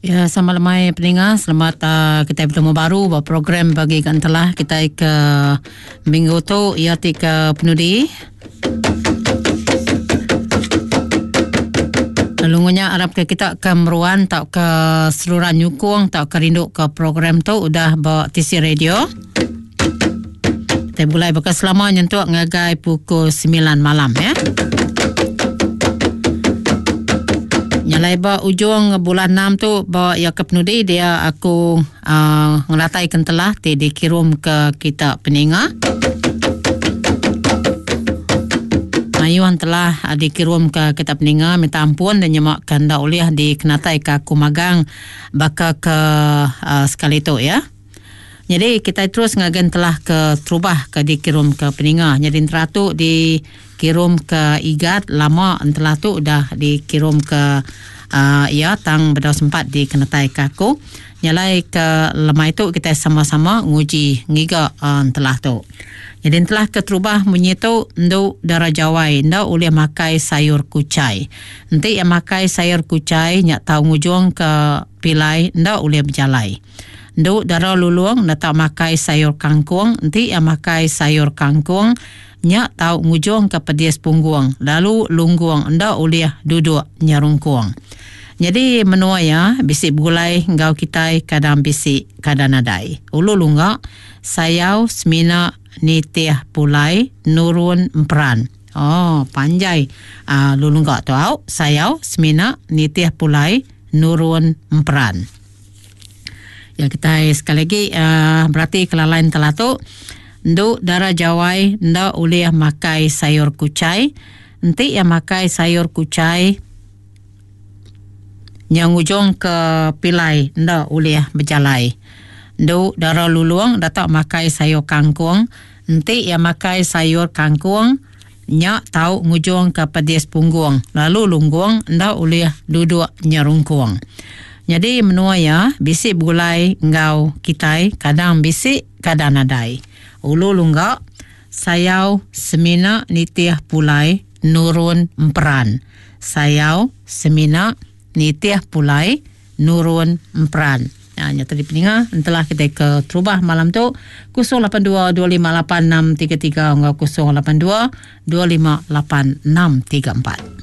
Ya sama lemai peninga selamat uh, kita bertemu baru ba program bagi gantelah kita ke minggu tu ia ti ke penudi. Lalu ngunya arap ke kita ke meruan tau ke seluran nyukung tau ke rindu ke program tu udah ba TC Radio. Kita bulai baka selama nyentuk ngagai pukul 9 malam ya. Nyalai ba ujung bulan 6 tu ba ya ke penudi dia aku uh, ngelatai kentelah ti dikirum ke kita peninga. Mayuh telah uh, dikirum ke kita peninga minta ampun dan nyemak ke enda ulih dikenatai ke aku magang baka ke uh, sekali tu ya. Nyadi kitai terus ngagai entelah ke terubah ke dikirum ke peninga. Nyadi entera tu dikirum ke Igat lama entelah tu udah dikirum ke uh, iya tang bedau sempat dikenetai ke aku. Nyalai ke lemai tu kitai sama-sama nguji ngiga uh, entelah tu. Nyadi entelah ke terubah munyi tu endu dara jawai enda ulih makai sayur kuchai. Enti iya makai sayur kuchai nya tau ngujung ke pilai enda ulih bejalai. Endu dara lulung enda tau makai sayur kangkung enti iya makai sayur kangkung nya tau ngujungka pedis punggung lalu lunggung enda ulih duduk nyerungkung. Nyadi menua iya bisi begulai enggau kitai kadang bisi kadang nadai. Ulu lungga sayau semina nitih pulai nurun emperan. Oh panjai uh, lulungga tu au sayau semina nitih pulai nurun emperan. Ya kitai sekali lagi uh, berati kelalain telah tu endu dara jawai enda ulih makai sayur kuchai. Enti iya makai sayur kuchai nya ngujung ke pilai enda ulih bejalai. Endu dara lulung datak makai sayur kangkung. Enti iya makai sayur kangkung nya tau ngujung ke pedis punggung lalu lunggung enda ulih duduk nyerungkung. Nyadi menua iya bisi begulai enggau kitai kadang bisi kadang nadai. Ulu lungga sayau semina nitih pulai nurun emperan. Sayau semina nitih pulai nurun emperan. Ha, nya tadi peninga entelah kita ke terubah malam tu 082 258 633 enggau 082 258 634.